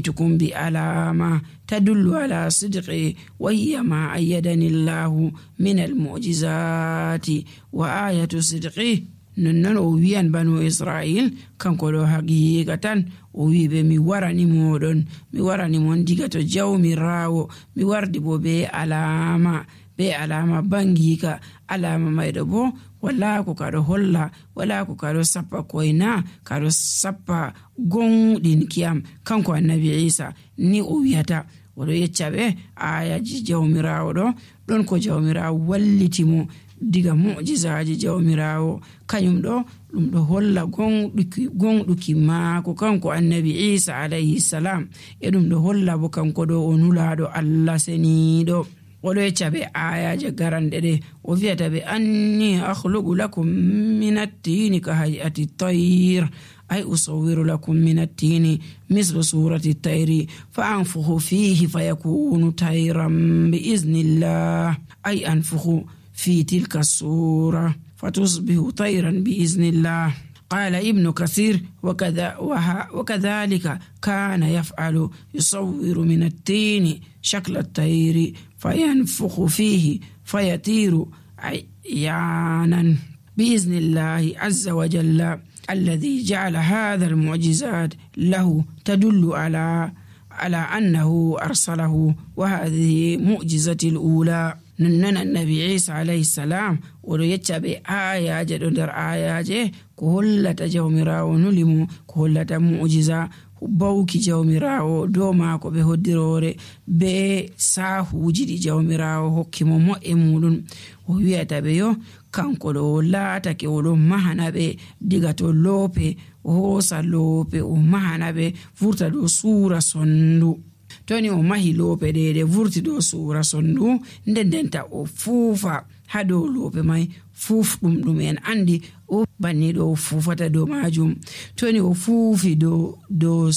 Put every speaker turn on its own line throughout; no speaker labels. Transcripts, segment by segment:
hokkitukum bi alama tadullu ala sidqi wa hiya ma ayyadani Allahu min al-mu'jizati wa ayatu sidqi. Non o wiyan banu Israil kanko ɗo haqiqatan o wiɓe mi warani mon diga to jawmirawo, mi wardi bo be alama bangika. Alama mayɗo bo wala ko kaɗo holla, wala ko kaɗo sappa koyna, kaɗo sappa gonɗin kiyam. Kanko annabi Isa ni o wiyata, oɗo yecca ɓe ayaji jawmirawo ɗon ko jawmirawo wallitimo diga mu'jizaji jawmirawo, kañum ɗum ɗo holla gonɗuki maako kanko annabi Isa alayhi salam, e ɗum ɗo holla bo kanko ɗo o nulaɗo Allah seniɗo. oɗo yecca ɓe ayaje garanɗe ɗe o wiyata ɓe anni akhluqu lakum min at-tini ka hay'ati at-tayr ay usawwiru lakum min at-tini mislu surati at-tayri fa anfukhu fihi fayakunu tayran bi iznillah ay anfukhu في تلك الصورة فتصبح طيرا بإذن الله. قال ابن كثير وكذلك كان يفعل، يصور من التين شكل الطير فينفخ فيه فيطير عيانا بإذن الله عز وجل الذي جعل هذا المعجزات له تدل على أنه أرسله. وهذه معجزة الأولى. ننن النبي عيسى عليه السلام oɗo yecca ɓe ayaje ɗo nder ayaje ko hollata jawmirawo nulimu, ko hollata mu'jiza bawki jawmirawo dow maako ɓe hoddirore be sahuji ɗi jawmirawo hokkimo mo'e muɗum. o wiyata ɓe yo kanko ɗo laatake oɗo mahana ɓe diga to loope, o hoosa loope o mahana ɓe vurta dow suura sondu. toni o mahi loope ɗe vurti dow suura sondu, ndendenta o fuufa ha dow loope mai, fuufɗum en andi o banni ɗo fuufata dow majum. toni o fuufi dow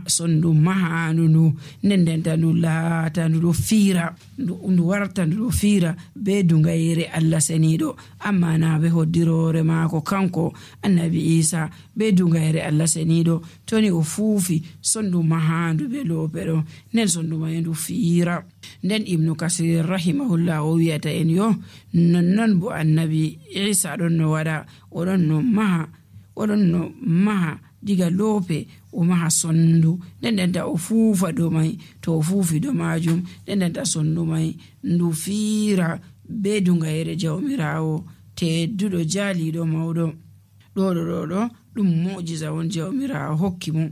sondu mahandu ndu, ndendenta ndu laata ndu ɗo fiira, ndu warta ndu ɗo fiira be dungayere Allah seniɗo. amma na be hoddirore maako kanko annabi Isa be dungayere Allah seniɗo. toni o fuufi sondu mahandu be loope ɗo, nden sondu mai ndu fiira. nden Ibnu Kasir rahimahullah o wiyata en yo non bo annabi Isa ɗon no waɗa, oɗon no maha diga loope o maha sondu, ndendenta o fuufa dow mai. to o fuufi dow majum ndendenta sondu mai ndu fiira be dungayere jawmirawo tedduɗo jaaliɗo mawɗo. ɗo ɗum mu'jiza won jawmirawo hokki mum.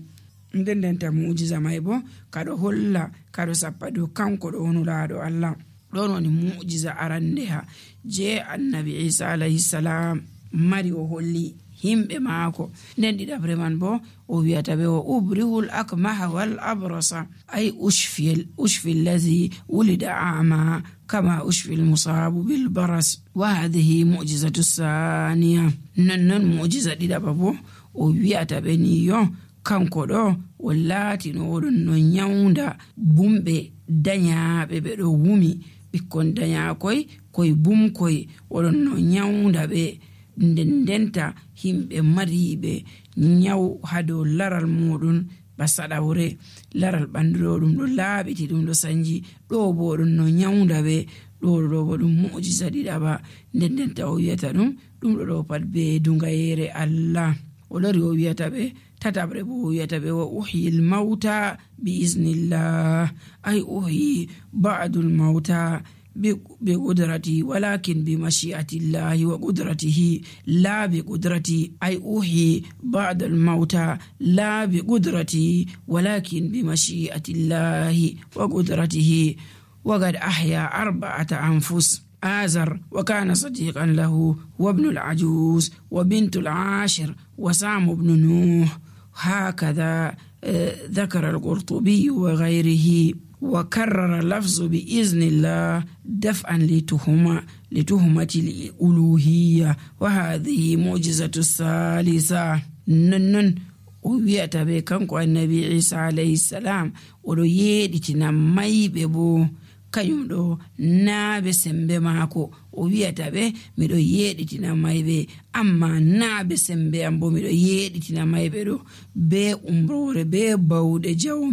ndendenta mu'jiza mai bo kaɗo holla kaɗo sappa dow kanko ɗo nulaɗo Allah. ɗon woni mu'jiza arandeha je annabi Isa alayhi salam mari o holli himɓe maako. nden ɗiɗabre man bo o wiyata ɓe o ubrihul akmaha wal abrasa ay ushfi allazi wulida ama kama ushfi almusabu bil baras. wa hadhihi mu'jizatu thaniya. non mu'jiza ɗiɗaɓa bo o wiyata ɓe ni yo kanko ɗo o laatino oɗon no nyawda bumɓe dañaaɓe ɓe ɗo wumi, ɓikkon dañaakoy koye bumkoy oɗon no nyawda ɓe. ndendenta himɓe mariɓe nyaw ha dow laral muɗum ba saɗawre, laral ɓandu ɗo ɗum ɗo laaɓiti, ɗum ɗo sanji. ɗo bo ɗum no nyawda ɓe. ɗo bo ɗum mu'jiza ɗiɗaɓa. ndendenta o wiyata ɗum ɗo pat be dungayere Allah. o lori o wiyata ɓe tatabre bo o wiyata ɓe wa uhyil mauta bi iznillah ay uhyi ba'dul mauta بقدرتي ولكن بمشيئة الله وقدرته لا بقدرتي أي أحيي بعد الموتى لا بقدرتي ولكن بمشيئة الله وقدرته. وقد أحيا 4 أنفس آزر وكان صديقا له وابن العجوز وبنت العاشر وسام بن نوح. هكذا ذكر القرطبي وغيره. وكرر اللفظ بإذن الله دفعا لتهمة الألوهية. وهذه معجزة الثالثة. نن ويأتى بكنكو النبي عيسى عليه السلام ولو يدتنا مايبه بو kañum ɗo naaɓe sembe maako o wiyata ɓe miɗo yeɗitina mayɓe, amma naaɓe sembe am bo miɗo yeɗitina mayɓe ɗo be umrore be bawɗe jawmi